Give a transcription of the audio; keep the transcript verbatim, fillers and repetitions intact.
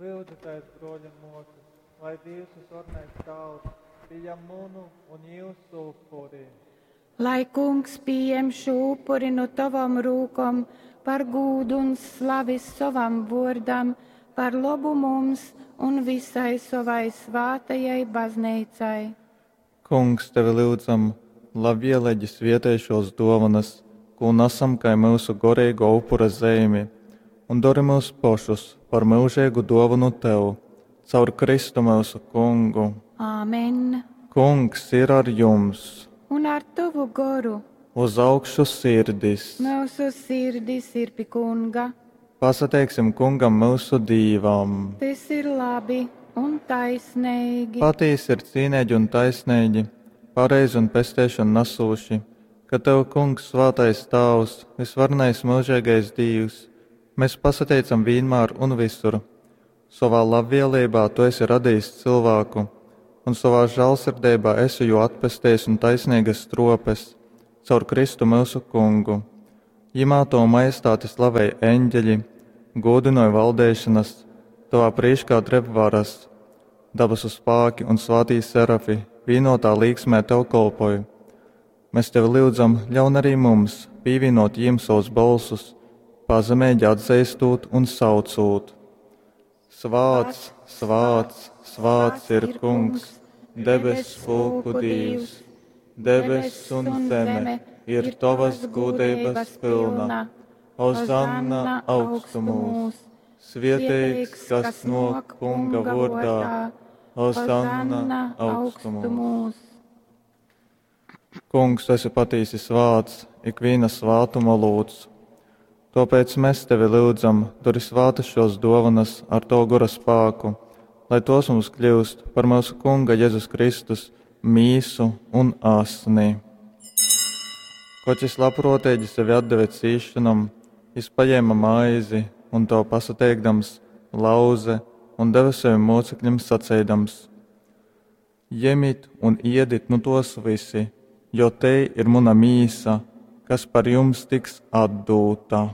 Lyudzitēs, bruoļi un muosys, lai Dīvs Vysvarenais Tāvs pījam munu un jiusu upuri. Lai Kungs pījem šū upuri nu tovom rūkom par gūdu un slavi sovam vuordam, par lobu mums un visai sovai svātajai bazneicai. Kungs, tevi lyudzam, labvieleigi svietej šuos duovonys, kū nasam kai myusu goreiguo upura zeimi, un dori myus pošus par myužeigu duovonu tev. Caur Kristu myusu Kungu. Āmen. Kungs ir ar jums! Un ar tovu goru. Uz augšu sirdis! Myusu sirdis ir pi Kunga. Pasateiksim Kungam myusu Dīvam! Tys ir labi un taisneigi. Patīsi ir cīneigi un taisneigi, pareizi un pesteišonu nasūši, ka tev, Kungs, svātais Tāvs, vysvarenais myužeigais Dīvs, mes pasateicam vīnmār un vysur. Sovā labvieleibā tu esi radejis cylvāku un sovā žālsirdeibā esi jū atpestejis un taisneigas struopes caur Kristu myusu Kungu. Jimā tovu majestāti slavej eņģeļi, gūdynoj valdeišanas, tovā prīškā dreb varas. Dabasu spāki un svātī serafi vīnotā līksmē tev kolpoj. Mēs tevi lyudzam, ļaun arī mums pīvīnot jīm savus bolsus, pazemeigi atzeistot un saucūt. Svāts, svāts, svāts ir Kungs, debess pulku Dīvs, debess un zeme ir tovas gūdeibas pilna. Hozanna augstumūs, svieteigs, kas nōk Kunga vōrdā, Hozanna augstumūs. Kungs, tu esi patīsi svāts, ikvīna svātuma olūts. Tāpēc mēs tevi lyudzam, dori svātas šos dovanas ar tavu gora spāku, lai tos mums kļūst par mūsu Kunga Jēzus Kristus mīsu un asni. Koč jis labprōteigi sevi atdeve cīšanom, jis paņēma maizi un to pasateikdams, lauze un deve saviem mocekļiem saceidams: Jemit un iedit nu tos visi, jo te ir muna mīsa, kas par jums tiks atdūta.